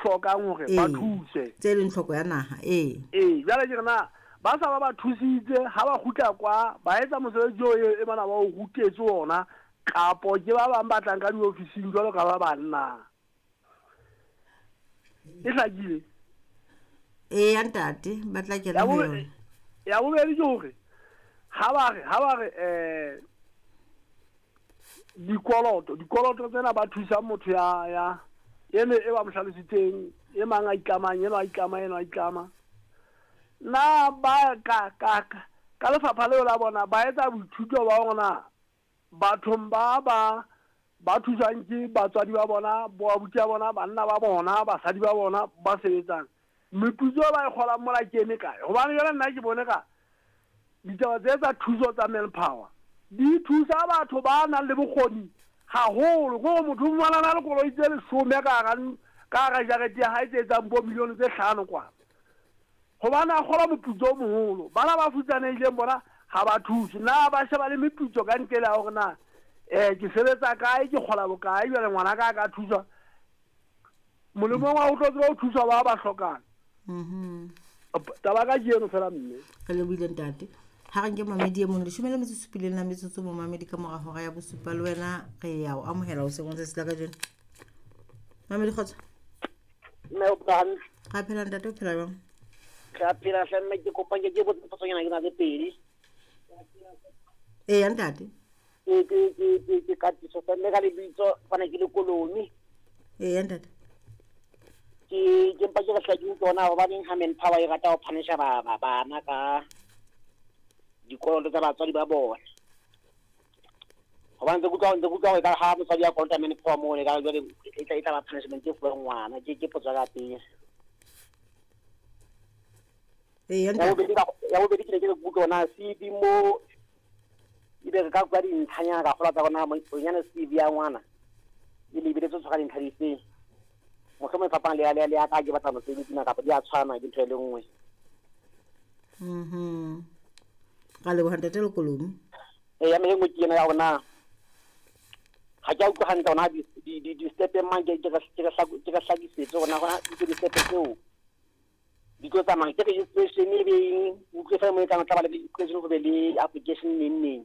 hlokang hore ba thuswe. Tse leng tlhoko ya naha, ee. Ee, jwale ke re na ba sa ba ba thusitse ha ba kgutla kwa ba etsa mosebetsi oo e bana ba o rutetswe ona kapo ke ba bang ba tlang ka diofising jwalo ka ba bang na? E hlakile? Ee ya ntate, ba tla kena ho yona. Ya bobedi ke hore ha ba re ha ba re dikoloto dikoloto tsena ba thusa motho ya ya ene e ba mo hlalositseng e mang a itlamang eno a itlama eno a itlama na ba ka ka ka lefapha leo la bona ba etsa boithuto ba hore na bathong ba ba ba thuswang ke batswadi ba bona boabuti ba bona banna ba bona basadi ba bona ba sebetsang meputso e ba e kgolang mola ke eme kae gobane jale nna ke bone ka ditaba tse tsa thuso tsa manpower di thusa batho ba nang le bokgoni haholo ke gore motho o fumana na le koloi tse 10 ka hara jarete ya hae tse etsang bo milione tse 5 kwana gobane a kgola moputso o moholo. Bana ba futsanehileng bona ga ba thuse. Na ba sheba le meputso ka ntle le ya gore na ke sebetsa kae, ke kgola bokae, jwale ngwana ka a ka thuswa molemong wa go tlo tseba go thuswa ba ba hlokang. Taba ka ke eno fela mme. Re lebohile ntate. Ha re nke mamedi e mong 17 la metsotso momamedi ka mora hora ya bosupa le wena re ya o amohela o sengwe tsatsi la kajeno. Mamedi kgotso. Mme o phela hantle. Ra phela ntate, o phela jwang? Re a phela hle mme, ke kopa ke botse potsonyana ke na le pedi. Ee ntate. Ke katiso hle mme ka lebitso fana ke le Kolomi. Ee ntate. Ke mpa ke re hle ke utlwe hore na hobaneng ha manpower e rata ho phanisha ba bana ka dikoloto tsa batswadi ba bona. Hobane ntse ke utlwa hore ekare ha motswadi a kolota manpower moo ekare jwale e tla ba punishment e fuwang ngwana. Ke potso ya ka pele. Ee Ya bobedi ke ne ke re ke utlwe hore na CV mo ebe re ka kwa dintlhanyana ka kgolwa tsa rona bonyane CV ya ngwana e lebeletse tshwara dintlha difeng. Mohlomong e fapana le ya ka ke batla mosebetsi na kapa di a tshwana ke ntho e le nngwe. Ra leboha ntate Lekolomi. Ee, ya mme e nngwe ke ena ya hore na ga ke a utlwa hantle hore na di-step mang ke re hlakisetse hore na hona di-step tseo di tlo tsamaya ke registration e beng utlwe fela mo e tlang tla ba le registration go be le application neng neng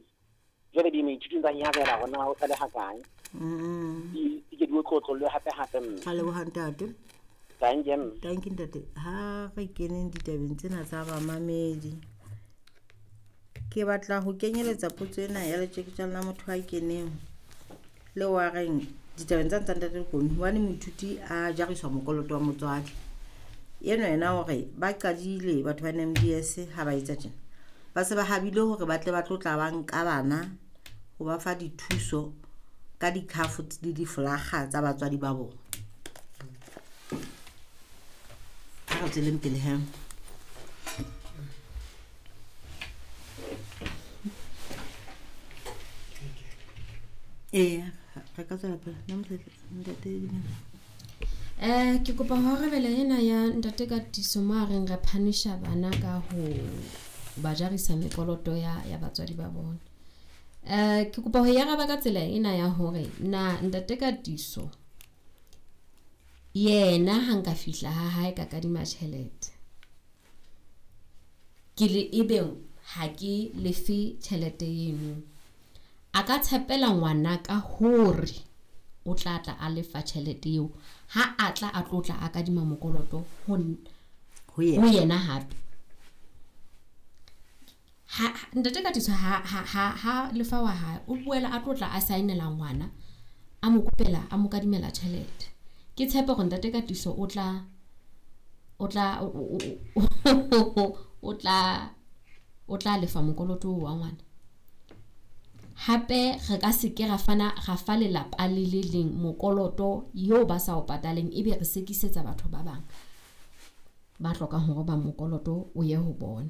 jwale di moithuti tsa nyarela hore na o sale ha kae. Di ke di otlotlolwe hape hape mme. Ra leboha ntate. Thank you mme. Thank you ntate. Ha re keneng ditabeng tsena tsa bamamedi. Ke batla ho kenyeletsa potso ena ya letjeketjane la motho a keneng le wa reng ditabeng tsa ntsa ntate Lekolomi hobane moithuti a jariswa mokoloto wa motswadi. Eno yena hore ba qadile batho ba NMDS ha ba etsa tjena. Ba se ba habile hore ba tle ba tlo tla ba nka bana ho ba fa dithuso ka dikhafo le diflakga tsa batswadi ba bona. Ha re tsweleng pele he. Ee, re ka tswela pele. Ntate Dumela. Ke kopa ho arabela ena ya ntate Katiso mo a reng re phanisha bana ka ho ba jarisa mekoloto ya batswadi ba bona. Ke kopa ho e araba ka tsela ena ya hore na ntate Katiso yena ha nka fihla ha hae ka kadima tjhelete ke le ebe ha ke lefe tjhelete eno, a ka tshepela ngwana ka hore o tla tla a lefa tjhelete eo ha a tla a tlo tla a kadima mokoloto ho yena hape. Ha ntate Katiso ha lefa wa hae o boela a tlo tla a saenela ngwana a mo kopela a mo kadimela tjhelete. Ke tshepe hore ntate Katiso o tla lefa mokoloto wa ngwana. Hape re ka se ke ra fana ra fa lelapa le le leng mokoloto eo ba sa o pataleng ebe re sekisetsa batho ba bang ba hlokang hore ba mokoloto o ye ho bona.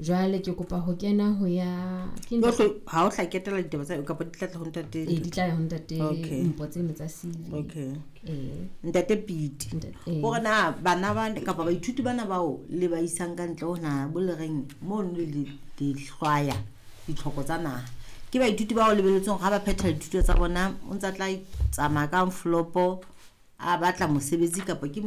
Jwale ke kopa ho kena ho ya ke ha o tla ketela ditaba tsa kapa di tla tla ho ntate. Ee, di tla ho ntate Mpho tse tsa CV. Okay. Ntate Piti. Hore na bana ba kapa baithuti bana bao le ba isang ka ntle ho naha bo le reng mono le di hlwaya ditlhoko tsa naha. Ke baithuti bao lebeletseng hore ha ba phetha dithuto tsa bona o ntsa tla tsamaya ka flopo a batla mosebetsi kapa ke